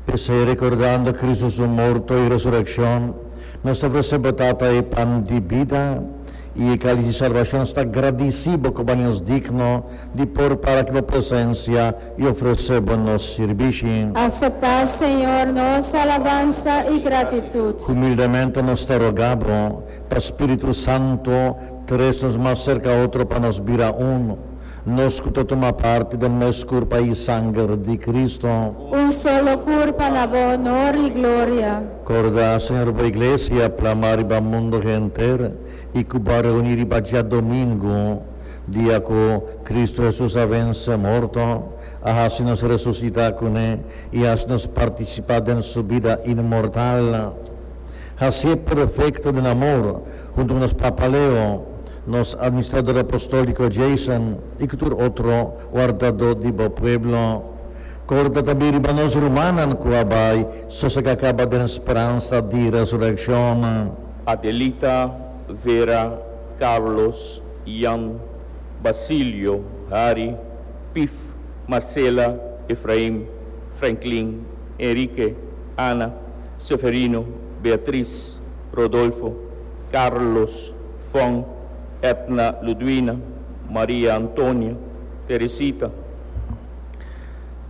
P'esei, rekordando Kristu su morto i resurekshon, nos ta ofresé bo Tata e pan di bida i e kalis di salbashon. Nos ta gradisí bo ku bo a nos digno di por para ku bo presensia i ofresé bo nos sirbishi. Aseptá, Señor, nos alabansa i gratitut. Humildemente nos ta rogá bo, pa Spiritu Santu tres nos mas serka otro pa nos bira un. Nos ku ta tuma parti den mes kurpa i sanger di Kristu. Un solo kurpa na bo honor i gloria. Korda, Señor, bo Iglesia plamá riba mundu henter i ku bo a reuní riba djadomingu, dia ku Kristu Hesus a vense morto, a hasi nos resusitá kuné i hasi nos partisipá den su bida inmortal. Hasié perfekto den amor, huntu ku nos Papa Leo, nos Administrador Apostóliko Jason i ku tur otro wardadó di bo pueblo. Korda tambe riba nos rumannan ku a bai sosegá kaba den speransa di resurekshon. Adelita, Vera, Carlos, Jan, Basilio, Harry, Pif, Marcela, Efraim, Franklin, Enrique, Ana, Seferino, Beatriz, Rodolfo, Carlos, Fon, Etna Ludwina, Maria Antonia, Teresita.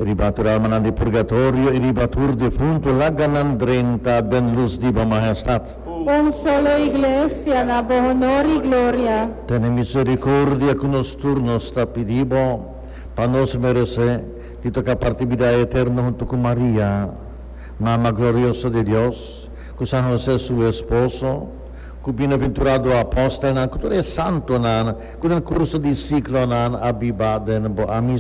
Riba tur almanan di purgatorio i riba tur defuntu laga nan drenta den lus di bo mahestat. Un solo Iglesia na bo honor i gloria. Tene misericordia ku nos tur nos ta pidi bo, pa nos meresé di toka parti bida eterno huntu ku Maria, Mama glorioso di Dios, ku San Hosé su esposo, ku bienaventurado apòstelnan, ku tur e santunan ku den kurso di siklonan a biba den bo amistad.